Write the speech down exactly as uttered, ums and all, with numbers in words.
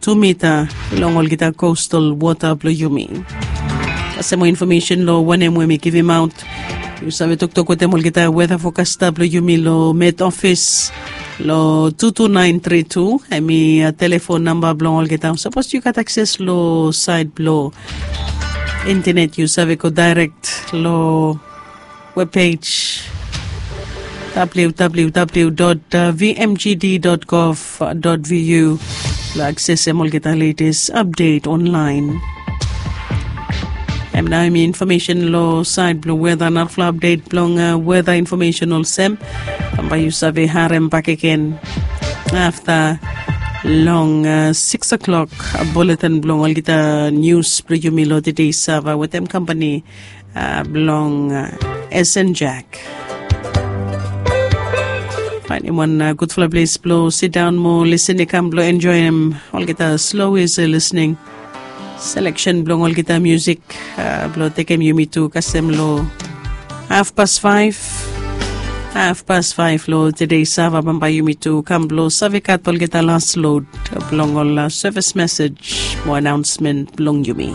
tu mita long olgeta kostal wota blong yumi. Kasem moa infomesen long wanem we mi givimaot, yu save toktok wetem olgeta weta fokasta blong yumi long met ofis long tu tu naen tri tu. Em i telefon namba blong olgeta sapos yu gat akses long saed blong intenet, yu save go daerek long webpej www vmgd gov vu blong aksesem olgeta letes apdet onlaen. Em nao em i infomesen long saed blong weta. Narafala apdet blong weta infomesen olsem, bambae yu save harem bakegen afta long sikis o'klok buletin blong olgeta nius blong yumi long tede sava wetem kampani blong sn jack. Faenem wan gudfala ples blong sidaon mo lisin i kam blong enjoem olgeta slo isi lisining seleksen blong olgeta musik blong tekem yumi tu kasem long hafpas faef. Hafpas faef long tede sava bambae yumi tu kam blong save gat olgeta las lod blong ol sevis mesej mo anaonsmen blong yumi.